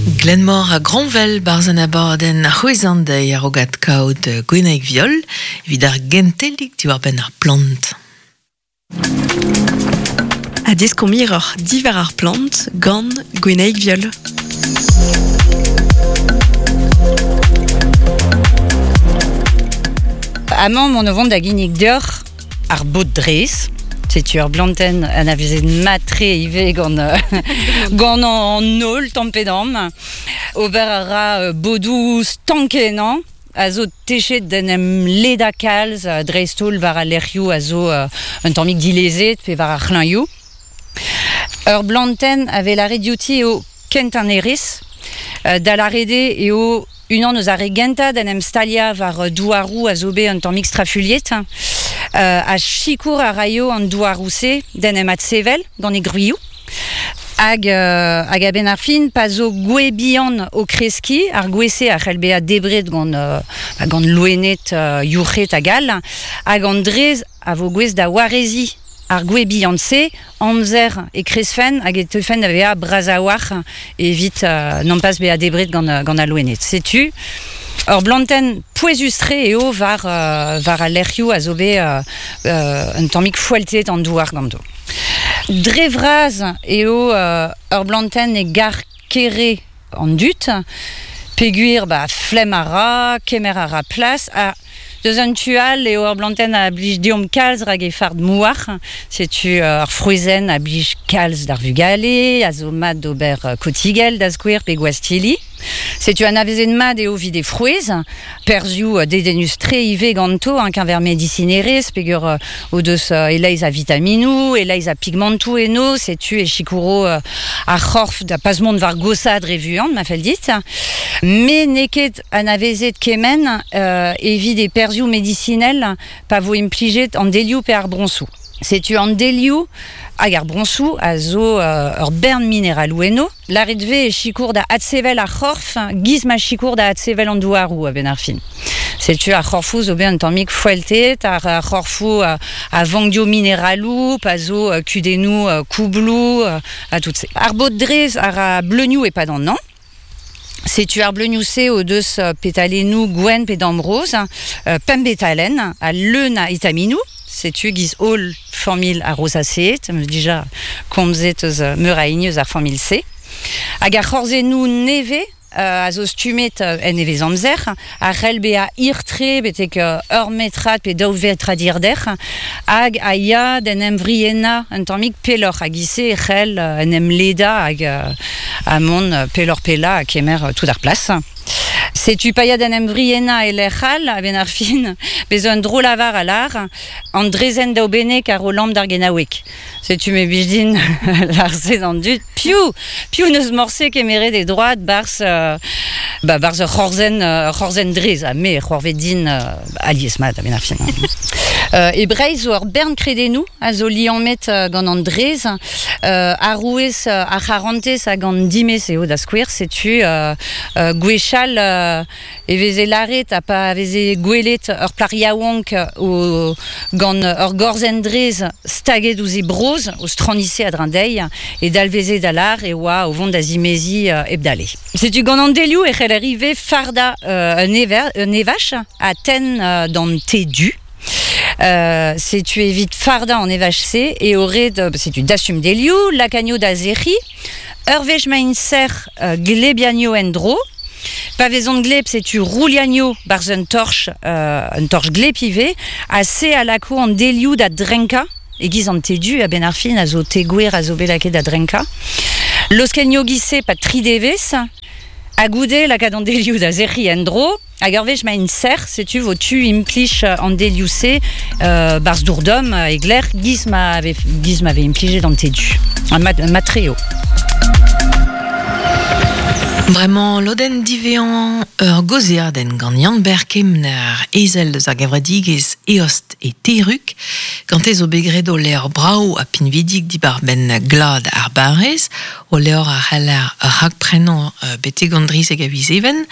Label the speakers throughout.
Speaker 1: Glenmor ha Groñvel 'barzh an abadenn C'hwezh an deiz a-raok adkaout Gwenaig Viol evit ar gentelig diwar-benn ar plant.
Speaker 2: Ha deskomp hiroc'h diwar ar plant gant Gwenaig Viol.
Speaker 3: Amañ emaon o vont da ginnig deoc'h ar bod drez. Setu ur blantenn anavezet mat-tre ivez gant, gant an holl tamm-pe-damm. Ober a ra bodoù stank-kenañ a zo techet d'en em ledañ kalz, dreist-holl war al lec'hioù a zo un tammig dilezet pe war ar c'hlañioù. Ur blantenn a vez lâret diouti eo kentañ nerez. Da lâret eo eo unan eus ar re gentañ d'en em staliañ war douaroù a zo bet un tammig strafuilhet ha sikour a raio an douaroù-se d'en em adsevel gant e gwrioù. Hag, hag a-benn ar fin, pa zo gwez bihan o kreskiñ, ar gwez-se a c'hell bezañ debret gant, gant loened, yourc'hed hag all, hag an drez a vo gouest da wareziñ ar gwez bihan-se, amzer e kreskfent hag e teufent da vezañ bras a-walc'h evit nompas bezañ debret gant, gant al loened. Setu ur blantenn pouezus-tre eo war, war al lec'hioù a zo bet un tammig foeltet an douar ganto. Dre vras eo ur blantenn e gar kere an dud peogwir ba flemm a ra, kemer a ra plas ha deus un tu all eo ur blantenn a blij deomp kalz rak he fard mouar. Setu ur frouezhenn a blij kalz d'ar vugale, a zo mat d'ober kotigell da skouer pe gwastilli. Setu anavezet mat eo evit he frouezh, perzhioù dedennus-tre ivez ganto en-keñver medisinerezh peogwir o deus e-leizh a vitaminoù, e-leizh a pigmantoù eno, setu e sikouro ar c'horf da pas mont war goshaat re vuan, ma fell dit. Met n'eo ket anavezet kement evit e perzhioù medisinel pa vo implijet an delioù pe ar broñsoù. Setu an delioù hag ar broñsoù a zo ur bern mineraloù enno. Lâret 'vez e sikour da adsevel ar c'horf 'giz ma sikour da adsevel an douaroù a-benn ar fin. Setu ar c'horfoù zo bet un tammig foeltet, ar c'horfoù a vank dio mineraloù, pa zo kudennoù koubloù ha tout se. Ar bod drez a ra bleunioù e-pad an hañv. Setu ar bleunioù-se o deus petalennoù gwenn pe damroz, pemp betalenn ha leun a vitaminoù. Setu 'giz holl familh ar rosaceed, am eus dija komzet eus meur a hini eus ar familh-se. Hag ar c'horzennoù nevez a zo stummet en nevezamzer a c'hell bezañ hir-tre betek ur metrad pe daou vetrad hirder hag a ya d'en em vriennañ un tammig pelloc'h hag e-se e c'hell en em ledañ hag ha mont pelloc'h-pellañ ha kemer tout ar plas. Setu pa ya d'en em vriennañ e lec'h all a-benn ar fin, bezañ un dro-lavar a lâr An drezenn daoubennek a ro lamm d'ar genaoueg. Setu me blij din lâr-se d'an dud. Piv piv n'eus morse kemeret e droad 'barzh ba 'barzh ur c'horzenn ur c'horzenn drez ha me c'hoarvez din alies-mat a-benn ar fin. E Breizh zo ur bern kredennoù a zo liammet gant an drez. Arouez ar c'harantez hag an dimez eo da skouer. Setu gwechall e veze lâret ha pa veze gwelet ur plac'h yaouank o, gant ur gorzenn-drez staget ouzh he brozh, o stranise a-dreñv dezhi, e dalveze da lâr e oa o vont da zimeziñ hep dale. Setu gant an delioù e c'heller ivez fardañ un, ever, un evaj ha tenn d'an te du. Setu evit fardañ an evaj-se eo ret setu dastum delioù, lakaat da sec'hiñ. Ur wech ma int sec'h, glebiagno en-dro. Pa vezont gleb, setu rouliagno 'barzh un torch, un torch gleb ivez, ha se a lako an delioù da drenkañ, e-giz an te du a-benn ar fin a zo te gwer a zo bet lakaet da drenkañ. Loskenn giz-se 'pad tri devezh, ha goude lakaat an delioù da sec'hiñ en-dro, hag ur wech ma int sec'h, setu vo tu implij an delioù-se 'barzh dour domm e glec'h giz ma vez giz ma vez implijet an te du. Mat-tre eo.
Speaker 1: Bremañ lodenn diwezhañ ur gaozeadenn gant Yann-Ber Kemner, ezel eus ar gevredigezh Eost e Terrug. Gante zo bet graet o levr brav ha pinvidik diwar-benn glad ar barrez. O levr a c'heller rakprenañ betek an drizek a viz Even.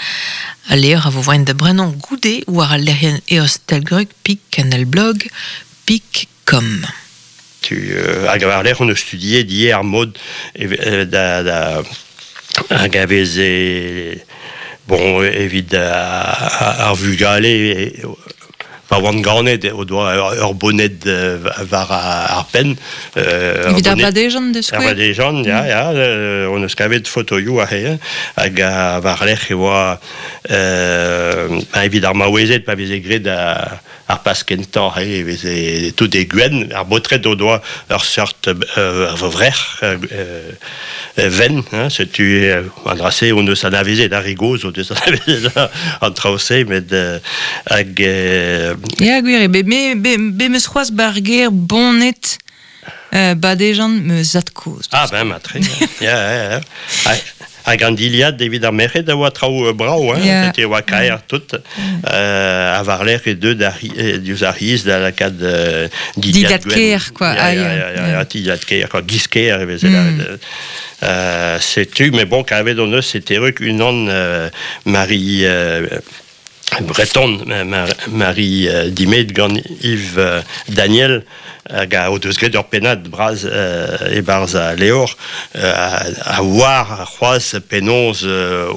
Speaker 1: Al levr a vo voaien da brenañ goude war al lec'hienn Eost Telgrug pik canalblog pik com.
Speaker 4: Tu, hag war-lerc'h hon eus studiet ivez ar mod da, da, Hag a veze bon evit ar vugale pa oant ganet o doa ur boned war ar penn.
Speaker 1: Evit ar badejan de skouer?
Speaker 4: Ar badejan, ya, ya, on eus kavet fotoioù aze, hag war-lerc'h e oa evit ar maouezed pa veze graet ar pas kentañ e veze tout e gwenn, ar baotred o doa ur seurt vrec'h venn, hein, setu an dra-se on eus anavezet, ar re gozh o deus anavezet an traoù-se, met hag...
Speaker 1: Ya, gwir eo, me, be meus c'hoazh bar ger boned badejan me zad-kozh.
Speaker 4: Ah ben, matre, ya, ya, ya. Hag an dilhad evit ar merc'hed a oa traoù brav, hein, yeah. Setu e oa kaer tout. Ha war-lerc'h e deu diouzh ar c'hiz da lakaat
Speaker 1: dilhad ker, quoi.
Speaker 4: Ya, ya, ya, ya, dilhad ker, quoi, giz ker e veze lâret. Setu, mais bon, kavet hon eus e Terrug unan Marie Breton, Marie Dimet gant Yves Daniel, hag a o deus graet ur pennad bras e-barzh al levr, a oar c'hoazh penaos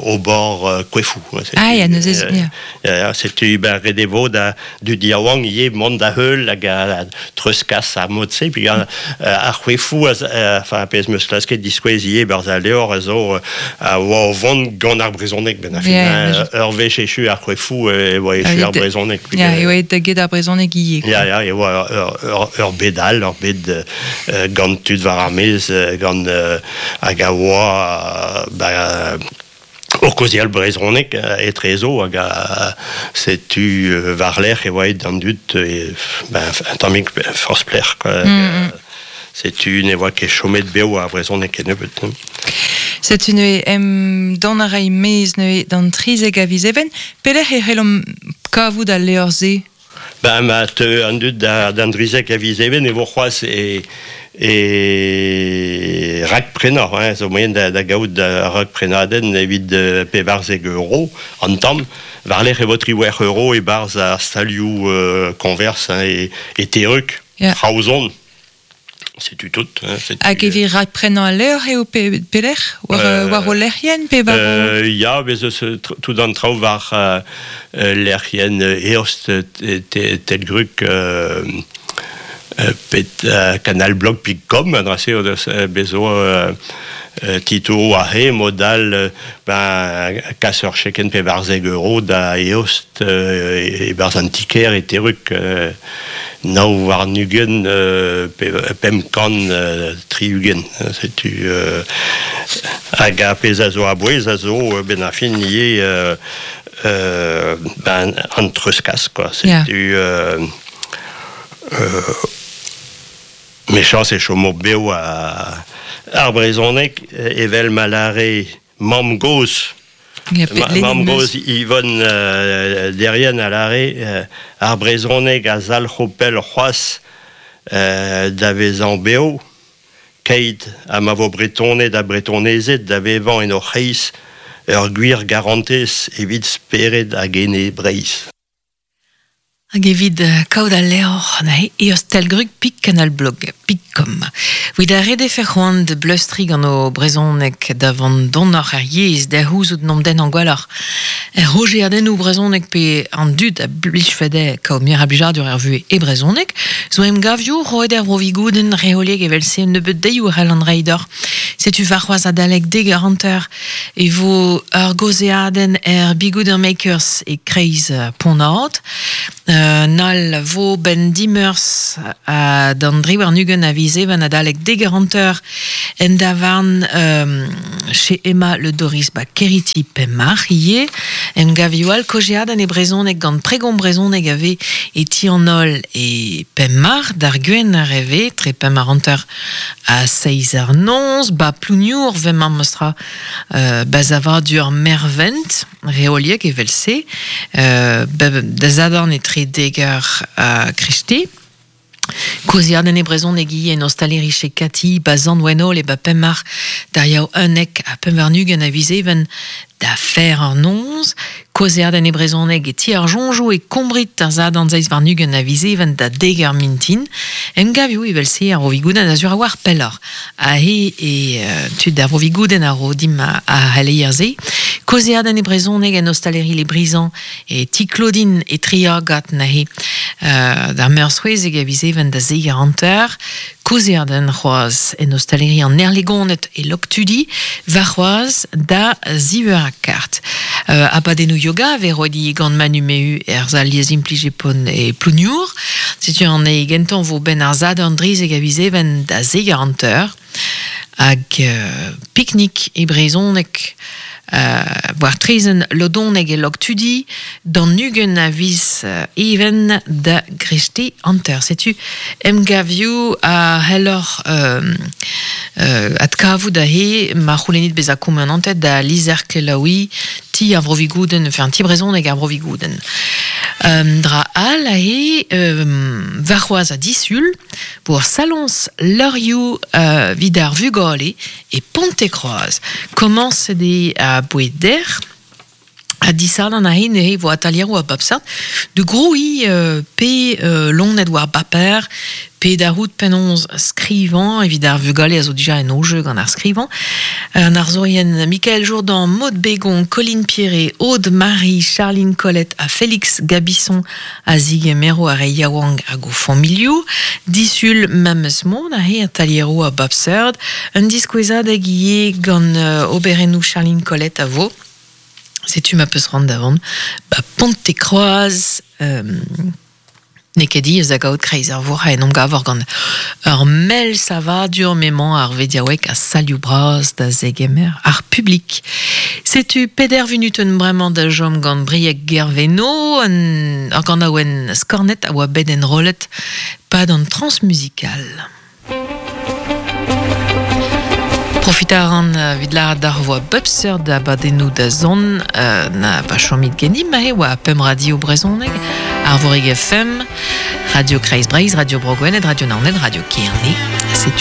Speaker 4: ober koefoù.
Speaker 1: Ah ya, neuze, ya.
Speaker 4: Ya, setu ben ret e vo da dud yaouank ivez mont da heul hag a treuzkas ar mod-se. Puis ar c'hoefoù, enfin, pezh 'm eus klasket diskouez ivez barzh al levr, a zo a oa o vont gant ar brezhoneg ben ar fin. Ur wech echu ar c'hoefoù e oa echu ar brezhoneg.
Speaker 1: Ya, e oa da get ar brezhoneg ivez.
Speaker 4: Ya, ya, e oa ur bed all, ur bed gant tud war ar maez, gant hag a oa ba, o kaozeal brezhoneg etrezo hag setu war-lerc'h e oa aet an dud ben, un tammig forzh plec'h quoi. Setu ne oa ket chomet bev ar brezhoneg kennebeut.
Speaker 1: Setu neuze em dont a ray maez neuze d'an 13 a viz Even. Pelec'h e c'hellomp kavout al levr-se?
Speaker 4: Ben, ma teu an dud d'an 13 a viz Even e vo c'hoazh e e rakprenañ, hein, zo moaien da gaout ar rakprenadenn evit 14 euro an tamm. War-lerc'h e vo 18 euro e-barzh ar stalioù koñvers hein, e Terrug, Kraozon. Setu tout. Hein,
Speaker 1: Hag evit rakprenañ al levr eo pelec'h? War ho lec'hienn pe war ho...
Speaker 4: Ya, bez eus tout an traoù war lec'hienn Eost Telgrug pet canalblog.com, an dra-se o deus bez zo titouroù aze, mod all ben kas ur chekenn 14 euro da Eost e-barzh an ti-kêr e Terrug 29 560. Setu hag ar pezh a zo a-bouez a zo ben ar fin ivez ben an treuzkas quoi. Setu mechañs e chomo bev ar brezhoneg evel ma lâre mamm-gozh. Mamm-gozh Yvonne Derrien a lâre ar brezhoneg a zalc'ho pell c'hoazh da vezañ bev, keit ha ma vo Bretoned ha Bretonezed da vevañ en o c'hreiz ur gwir garantez evit spered hag ene Breizh.
Speaker 1: Hag evit kaout al levr neuze eost Telgrug pik canal blog pik com. Evit ar re defe c'hoant da bleustriñ gant o brezhoneg da vont donoc'h er yezh da c'houzout n'omp den gwelloc'h er rojeadennoù brezhoneg pe an dud a blijfe dezhe kaout muioc'h a blijadur er vuhez e brezhoneg zo emgavioù roet er Vro-Vigoudenn reoliek evel-se un nebeud deioù a c'hellan reiñ deoc'h. Setu warc'hoazh adalek 10h50 e vo ur gaozeadenn er Bigouder Makers e-kreiz Pont-Aod. Un all vo 'benn dimeurzh d'an 23 a viz Even adalek 10h50 en davarn chez Emma Le Doris ba Keriti Pemmarc'h ivez. Emgavioù all kaozeadenn e brezhoneg gant Pregomp brezhoneg a vez e ti an holl e Pemmarc'h d'ar Gwener e vez tre 5h50 ha 7h noz ba Plouniour 'vez memestra ba savadur Mervent. Reoliek evel-se, da zadorn etre 10 eur ha kreisteiz. Koziaden e brezhoneg ivez en ostaleri chez Cathy, ba Sant-Wennole e ba Pemar, d'ar yaou 11 ha 25 a viz Even da fer an noz. Koziaden e brezhoneg e ti ar Jonjo e Kombrit ar zadorn 27 a viz Even da deg eur mintin. Emgavioù evel-se ar Vro-Vigoudenn a zur a war pelloc'h. Aze e tud ar Vro-Vigoudenn a ro dimp ar c'heleier-se. Kaozeadenn e brezhoneg en ostaleri Les Brisants e ti Claudine e Triagat neuze d'ar Meurzh 16 a viz Even da zeir 50. Kaozeadenn c'hoazh en ostaleri an Erlegoned e Loktudi warc'hoazh da ziv eur ha kart. Abadennoù yoga a vez roet ivez gant Manu Mehu er sal liezimplij e Pont e Plouniour. Setu an eil gentañ 'vo 'benn ar Sadorn 13 a viz Even da zeir 50. Hag piknik e brezhoneg war traezhenn Lodoneg e Loktudi d'an 20 a viz Even da greisteiz 50. Setu emgavioù a c'helloc'h adkavout aze ma c'houlennit bezañ koumanantet da lizher kelaouiñ Ti ar Vro-Vigoudenn, enfin Ti brezhoneg ar Vro-Vigoudenn. Un dra all aze, warc'hoazh ha disul, vo ur saloñs leurioù evit ar vugale e Pontekroaz. Komañset eo aboe dec'h ha disadorn aze neuze e vo atalieroù a bep seurt da grouiñ pe loened war baper pe da c'hoût penaos skrivañ evit ar vugale a zo dija en o jeu gant ar skrivañ. An arzourien Mikael Jourdan, Maud Bégon, Colline Pierret, Aude Marie, Charline Colette ha Félix Gabisson a zigemero ar re yaouank hag o familhoù. Disul memes mod aze atalieroù a bep seurt. Un diskouezadeg ivez gant oberennoù Charline Colette a vo. Setu ma peus c'hoant da vont ba Pontekroaz. N'eo ket diaes da gaout kreiz ar vourc'h en em gavor gant ur mell savadur m'emañ ar vediaoueg ha salioù bras da zegemer ar publik. Setu peder vunutenn bremañ da chom gant Brieg Guerveno, ur ganaouenn skornet a oa bet enrollet 'pad an Transmusical. Profitañ a ran evit lâret deoc'h 'voa bep seurt abadennoù da zont na pa chomit ganimp aze 'oa pemp radio brezhoneg, Arvorig FM, Radio Kreiz Breizh, Radio Bro Gwened, Radio Naoned, Radio Kerne. Setu